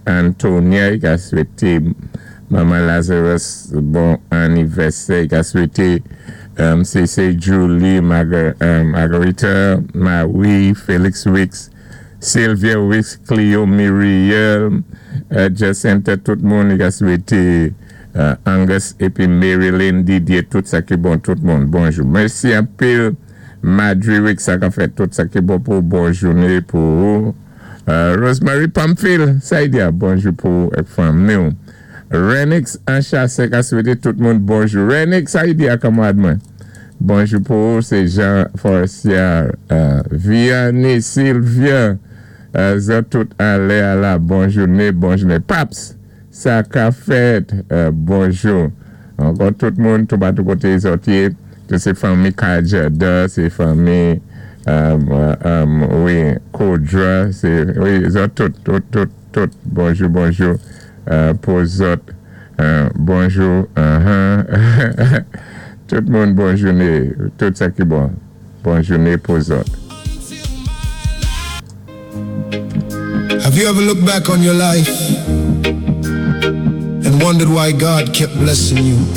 Antonia, i ka swété Manman Lazarus bon anivèsè, i ka swété CC Julie, Margarita, Marie, Felix Wicks, Sylvia Wicks, Cleo Muriel, Jacinta, tout moun, i ka swété Angus épi Marilyn Didier, tout sa ki bon, tout moun, bonjou. Mèsi anpil, Madry Wicks, sa ka fèt, tout sa ki bon pou bon jouné pou ou. Rosemary Pamphile, sa y di a, bonjou pou èk fanmi. Renix Anchasse ka swété tout moun bonjou. Renix, sa y di a, kanmarad mwen? Bonjou pou ou, sé Jean Forcier. Vianney Sylvia, zòt tout anlè a la, bon jouné, bon jouné. Paps, sa ka fèt, bonjou. Ankò tout moun, tout batou koté zòt yé, tout sé fanmi Kajada, sé fanmi, wi, Kodra, sé, wi, zòt tout, tout, tout, tout, bonjou, bonjou, pou zòt, bonjou, tout moun bon jouné, tout sa ki bon, bon jouné pou zòt. Have you ever looked back on your life and wondered why God kept blessing you?